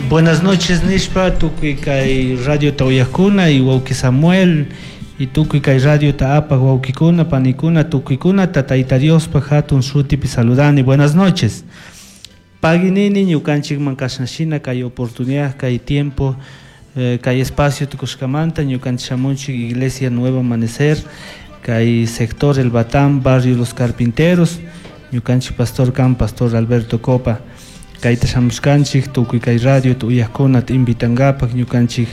Buenas noches nishpa tukuy kay radiota uyakuna y wawki Samuel y tukuy kay radiota apaq wawkikuna panikuna tukuykunata Tayta Diospaj hatun shutipi saludani. Buenas noches. Pagui nini ñukanchikman kashanshina kay oportunidad kay tiempo kay espacio tukushkamanta ñukanchik shamunchik Iglesia Nuevo Amanecer kay sector El Batán barrio Los Carpinteros ñukanchik pastor kan pastor Alberto Copa kayta shamushkanchik tukuy kay radiota uyakkunata invitankapak ñukanchik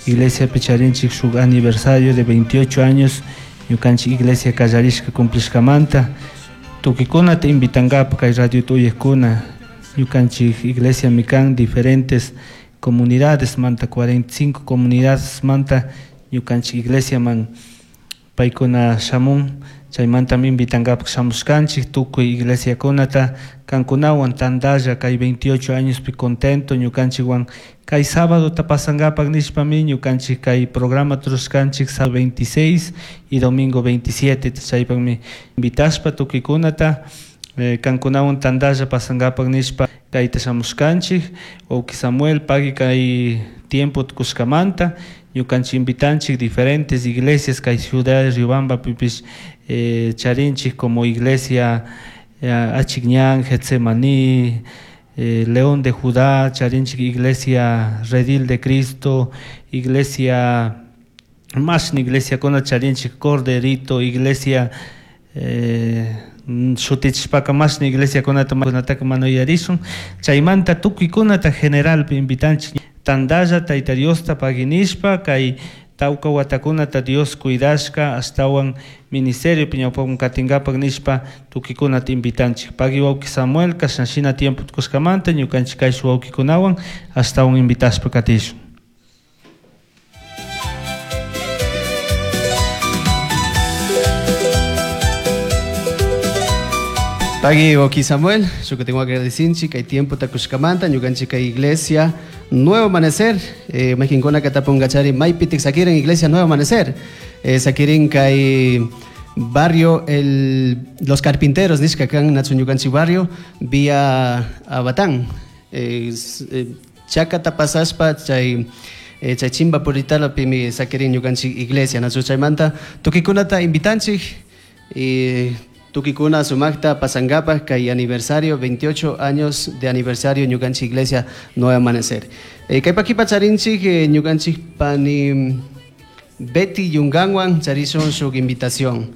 iglesiapi charinchik shuk aniversario de 28 años ñukanchik iglesia kallarishka cumplishkamanta tukuykunata invitankapak kay radiota uyakkuna ñukanchik iglesiami kan diferentes comunidades manta 45 comunidades manta ñukanchik iglesiaman paykuna shamun chaymantami invitankapak shamushkanchik tukuy iglesiakunata kankunawan tantalla kay 28 añospi contento ñukanchikwan kay sábadota pasankapak nishpami ñukanchik kay programa rurashkanchik sábado 26 y domingo 27 chaypakmi invitashpa tukuykunata kankunawan tantalla pasankapak nishpa kayta shamushkanchik wawki Samuel pagui kay tiempo tukushkamanta ñukanchik invitanchik diferentes iglesias kay ciudad de Riobambapipish charinchik como iglesia Achikñan, Getsemaní, León de Judá, charinchik iglesia Redil de Cristo, iglesia mashna iglesiakuna charinchik Corderito, iglesia shutichishpaka mashna iglesiakunata kunataka mana yuyarishun chaymanta tukuykunata generalpi invitanchik tantalla Tayta Diosta pagui nishpa kay tawka watakunata Dios cuidashka ashtawan ministeriopi ñawpaman katinkapak nishpa tukuykunata invitanchik pagui wawki Samuel kashanshina tiempo tukushkamanta ñukanchik kayshuk wawkikunawan ashtawan invitashpa katishun. Pagui wawki Samuel, yo tengo agradecinchi kay tiempo takushkamanta ñukanchik kay iglesia Nuevo Amanecer, mayqinkuna katapungachari maypitik sakirin iglesia Nuevo Amanecer, sakirin kay barrio el Los Carpinteros nishka kan nachu ñukanchik barrio vía Batán, chakata pasashpa chay chay chimba puritalapimi sakirin ñukanchik iglesia nachu chaymanta tukuykunata invitanchik y tukikuna sumakta pasankapak kay aniversario 28 años de aniversario ñukanchik iglesia Nuevo Amanecer. Kay pakipa charinchik ñukanchik pani Betty Yunganwan charishun shuk invitación.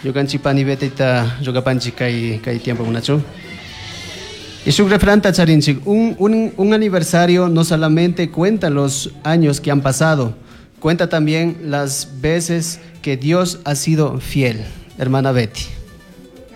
Ñukanchik pani Bettyta rugapanchik kay kay tiempo kunachu. Y shuk refranta charinchik, un aniversario no solamente cuenta los años que han pasado, cuenta también las veces que Dios ha sido fiel. Hermana Betty.